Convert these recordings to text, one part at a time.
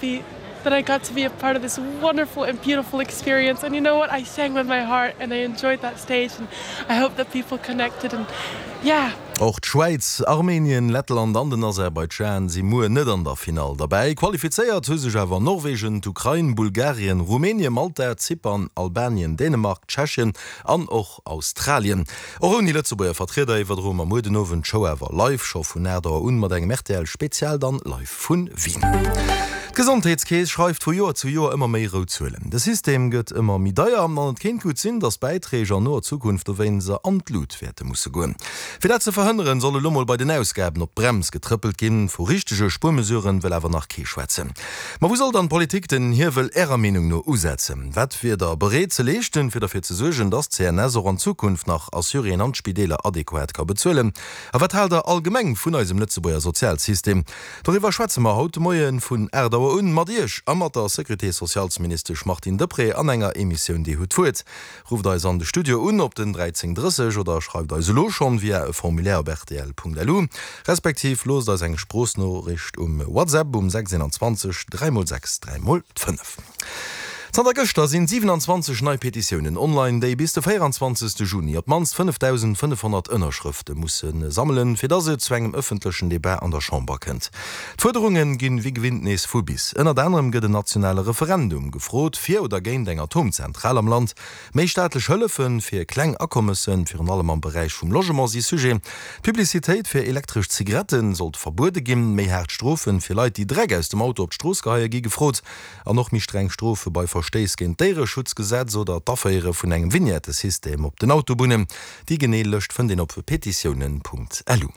happy that I got to be a part of this wonderful and beautiful experience and you know what I sang with my heart and I enjoyed that stage and I hope that people connected and yeah. Och d'Schwäiz, Armenien, Lettland an den Aserbaidschan si muer net an der Finall derbäi. Qualifizéiert hu sech awer Norwegen, d'Ukrain, Bulgarien, Rumänien, Malta, Zypern, Albanien, Dänemark, Tschechien an och Australien. Och ouni Lëtzebuerger Vertrieder iwwerdroe mer muer den Owend d'Show awer live, scho vun 8 Auer un, mat engem rtl Spezial dann live vun Wien. D'Gesondheetskeess schreift vu Joer zu Joer ëmmer méi rout Zuelen. De System gëtt ëmmer méi deier an et kéint gutt sinn, datt d'Bäiträg an noer Zukunft dowéinst an d'Lut wäerte musse goen. Fir dat ze verhënneren, soll elo mol bei den Ausgaben op d'Brems getrëppelt ginn. Vu richtege Spuermesuren wëll awer nach kee schwätzen. Ma wou soll dann d'Politik den Hiewel Ärer Meenung no usetzen? Wat wier Der bereet ze leeschten, fir derfir ze suergen, dass d'CNS och an Zukunft nach Assuréen an d'Spideeler adequat ka bezuelen? A wat haalt Der allgemeng vun eisem Lëtzebuerger Sozialsystem? Doriwwer schwätze mer haut de Moie vun 8 Auer un mat Iech a mat der Sécurité-socialesministesch Martine Deprez an enger Emissioun Dir hutt d'Wuert. Rufft eis an de Studio un op den 13 30 oder schreift eis elo schonn via e Formulaire op rtl.lu, respektiv loosst eis eng Sproochnoriicht um WhatsApp um 6 21 3 x 6 3 x 5. Zanter gëschter sinn 27 nei Petitiounen online, déi bis de 24 Juni op d'mannst 5.500 Ënnerschrëfte musse sammelen, fir dass et zu engem ëffentlechen Debat an der Chamber kënnt. D'Fuerderunge ginn wéi gewinnt nees vu bis. Ënnert anerem gëtt en nationale Referendum gefrot, fir oder géint eng Atomzentral am Land. Méi staatlech Hëllefe fir kleng Akommessen, virun allem am Beräich vum Logement, si Sujet. D'Publicitéit fir elektresch Zigarette sollt verbuede ginn. Méi haart Strofe fir Leit, déi Dreck aus dem Auto op d'Strooss geheie gi gefrot. An och méi streng Strofe bei Verstéiss géint d'Déiereschutzgesetz oder d'Aféiere vun engem Vignettesystem op den Autobunnen. Déi genee Lëscht fënnt een op petitiounen.lu.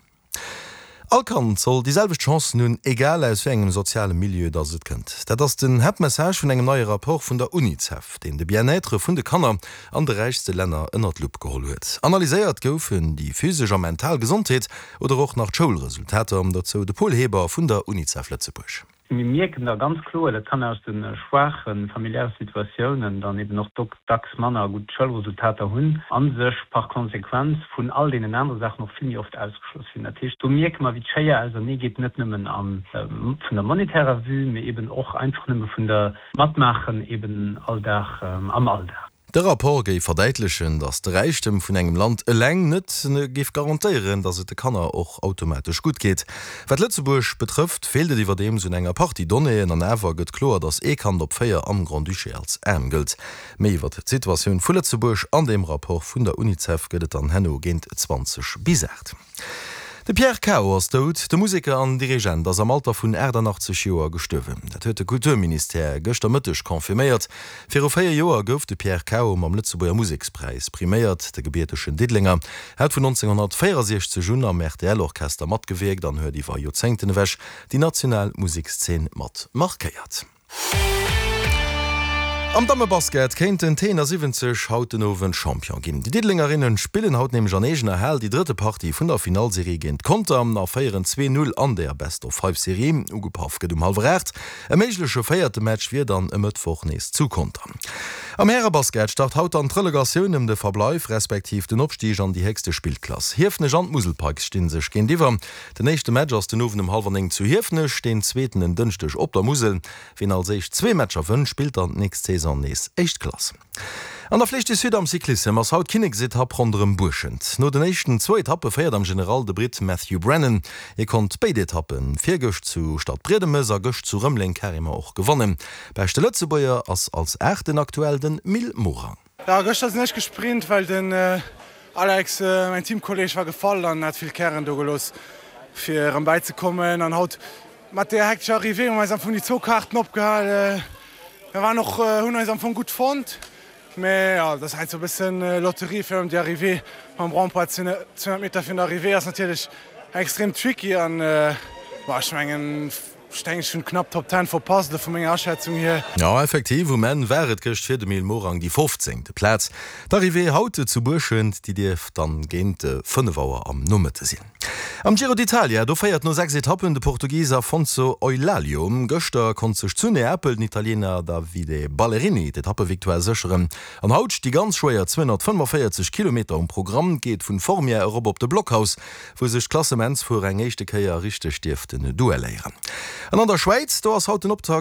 All Kand soll déi selwecht Chancen hunn, egal aus wéi engem soziale Milieu dass et kënnt. Dat ass den Haaptmessage vun engem neie Rapport vun der Unicef, deen de Bien-être vun de Kanner an de räichste Länner ënner d'Lupp geholl huet. Analyséiert goufen déi physesch a mental Gesondheet oder och nach d'Schoulresultater. Dozou de Paul Heber vun der Unicef Lëtzebuerg. Mir mierken da ganz kloer, dat Kanner aus de schwaache familiäre Situatiounen dann eben och dacks manner gutt Schoulresultater hunn a sech par Konsequenz vun all deenen anere Saachen och vill méi oft ausgeschloss fillen. Dat heescht, do mierke mer, wéi d'Schéier ausernee geet, net nëmmen vun der monetärer Vue, mee eben och einfach nëmme vun der Matmaachen eben all Dag am Alldag. De Rapport géif verdäitlechen, datt de Räichtem vun engem Land eleng net géif garantéieren, datt et de Kanner och automatesch gutt geet. Wat Lëtzebuerg betrëfft, feelt et iwwerdeems un enger Partie Donnéeën an awer gëtt kloer, datt ee Kand op 4 am Grand-Duché als aarm gëllt. Méi iwwer d'Situatioun vu Lëtzebuerg an deem Rapport vun der Unicef gëtt et dann herno géint 20 bis 8. De Pierre Cao ass dout. De Museker an Dirigent ass am Alter vun 88 Joer gestuerwen. Dat huet de Kulturministère gëschter Mëtteg confirméiert. Viru 4 Joer gouf de Pierre Cao mam Lëtzebuerger Musekspräis priméiert. De gebiertegen Diddelenger hat vun 1964 un am RTL-Orchester matgewierkt an huet iwwer Joerzéngten ewech déi national Musekszeen mat markéiert. Am Dammebasket kéinten d'T71 haut den Owend Champion ginn. Déi Diddelengerinnen spillen haut nämlech an eegener Hal déi drëtte Partie vun der Finallserie géint Conter a féieren 2, 0 an der Best-of-Five-Serie. Ugepaff gëtt um hallwer 8. E méigleche véierte Match wier dann e Mëttwoch nees zu Conter. Am Härebasket start haut dann d'Relegatioun ëm de Verbleif respektiv den Opstig an déi héchste Spillklass. Hiefenech an d'Musel Pikes sti sech géintiwwer. Den éischte Match ass den Owend um hallwer 9 zu Hiefenech, deen zweeten en Dënschdeg op der Musel. Wien als éischt zwee Matcher wënnt, spillt dann d'nächst Saison nees éischt Klass. An der Flèche du Sud am Cyclissem ass haut d'Kinneksetapp ronderëm Buerschent. No den éischten zwou Etappe féiert am General de Britt Matthew Brennan. Hie konnt béid Etappen, virgëscht zu Stadbriedemes a gëscht zu Rëmeleng carrément och gewannen. Beschte Lëtzebuerger ass als Aachten aktuell den Mil Morang. Jo, gëschter sinn ech gesprint, well den Alex, mäin Teamkolleg, war gefall an hat vill Kären do gelooss fir erëm bäizekommen. An haut mat där hektescher Arrivée hu mer eis am Fong déi zwou Kaarten opgehal. Mir waren och, hunn eis am Fong gutt fonnt, mä jo, dat ass heiansdo e bëssen Lotterie, virun allem déi Arrivée mam Rond-point 200 Meter virun der Arrivée ass natierlech extrem tricky an, bon, ech mengen, Ech denken ech hun knapp Top Ten verpasst, elo vu menger Aschätzung hier. Jo, effektiv, um Enn war et gëscht fir de Mil Morang déi 15. Plaz. D'Arrivée haut zu Buerschent, déi dierft dann géint 5 Auer am Nomëtte sinn. Am Giro d'Italia, do féiert no 6 Etappen de Portugis Afonso Eulalio. Gëschter konnt sech zu Neapel den Italiener Davide Ballerini d'Etappevictoire sécheren. An haut sti ganz schwéier 245 Kilometer um Programm. Geet vun Formia erop op de Blockhaus. wou sech d'Klassementsfuerer eng éischte Kéier richteg dierften duelléieren. An an der Schwäiz, do ass haut den Optakt.